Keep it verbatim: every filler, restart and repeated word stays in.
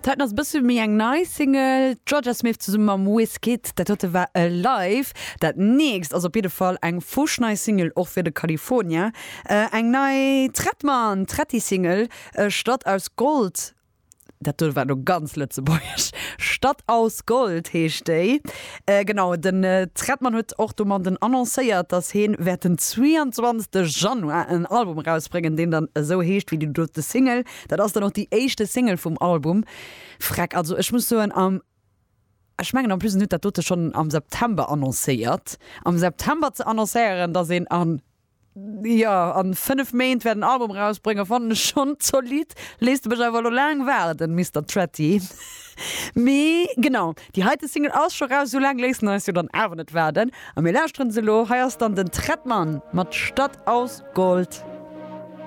Dat ass bësse méi eng nei Single. Jorja Smith zesumme mam Wizkid, dat dote war Alive. Dat nächst ass op jidde Fall eng fuschnei Single, och fir de California. Äh, eng nei Trettmann, Tretti-Single, äh, Stadt aus Gold. Dat do war lo ganz lëtzebuergesch. Stadt aus Gold heescht déi. Äh, genau, den äh, Trettmann huet och domadden annoncéiert, dass hien wäert den zwéianzwanzegste Januar en Album rausbréngen, deen dann esou heescht wéi déi dote Single. Dat ass dann och déi éischte Single vum Album. Freck, also ech muss soen, am ech mengen en plus en huet dat dote schonn am September annoncéiert. Am September ze annoncéieren, dass een an jo, an fënnef Méint wäert en Album rausbréngen, fannen ech schonn zolidd. Léisst de mech awer elo laang waarden, Mister Tretti. Mee genau, déi heite Single ass scho raus, sou laang léisst en eis jo dann awer net waarden. A mir lauschteren se elo. Hei ass dann den Trettmann mat Stadt aus Gold.